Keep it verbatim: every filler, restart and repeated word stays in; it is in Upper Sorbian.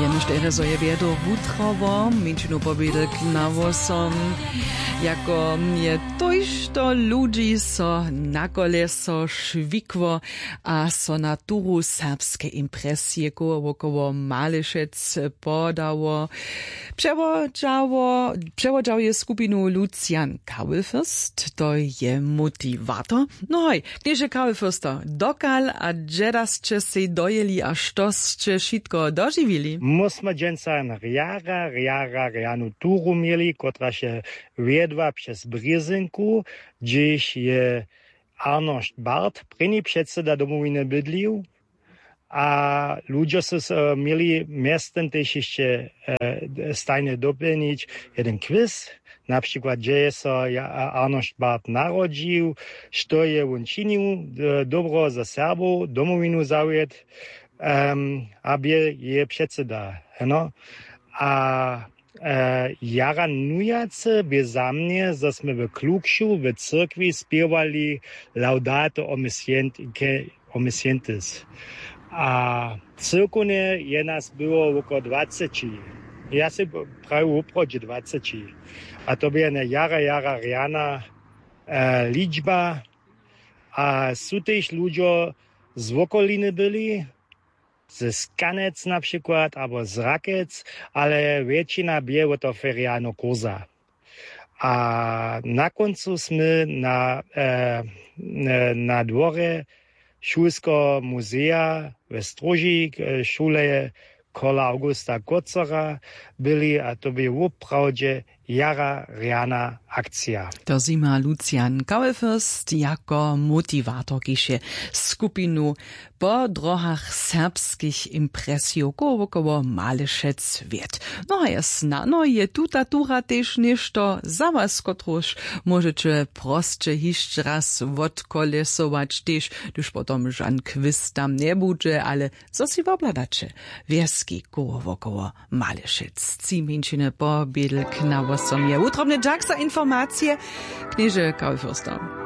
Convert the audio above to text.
Jenož terje zo je wjedro wutrowo, mjeńšinu pobědek na wosom, jako je tójšto ludźi so na koleso šwikło a so na turu serbske impresije koło wokoło Malešec podało. Přewodźało přewodźał je skupinu Lucian Kawelfürst, to je motiwator. No hoj, knježe Kawelfürster, dokal a dźeda sće sej dojěli a što sće wšitko dožiwili? Mósmy dźensa rjara rjara rjanu turu měli, kotraž je wjedła přez brězynku, hdźež je Arnošt Bart, prěni předsyda Domowiny, bydlił. A ludźo su so měli mjeztym tež hišće stajnje dopjelnić jeden kwis, na přikład hdźe je so Arnošt Bart narodźił, što je wón činił dobro za Serbow, Domowinu zawjet, a bě jeje předsyda heno. A jara nujacy bě za mnje, zo smy w klukšu w cyrkwi spěwali Laudato Omiscientis. A cyłkownje je nas było wokoło dwaceći. Ja sej prawił woprawdźe dwaceći. A to bě jedna jara jara rjana ličba. A su tež ludźo z wokoliny byli, ze Skanec na přikład abo z Rakec, ale wjetšina bě wot toho ferialneho kursa. A na kóncu smy na na dworje šulskeho muzeja we stróži šule Karla Augusta Kócera byli a to bě woprawdźe jara rjana akcija. To zjima Lucian Kawelfürst jako motiwator kiž je skupinu po dróhach serbskich impresijow koło wokoło Malešec wjedł. No a je snano je tuta tura tež něšto za was, kotruž móžeće prosće hišće raz wotkolesować tež, hdyž potom žan kwist tam njebudźe, ale zo sej wobhladaće wjeski koło wokoło Malešec. Tři mjeńšiny po bědlk na wosom je wutrobny dźak za informacije, knježe Kawelfürster.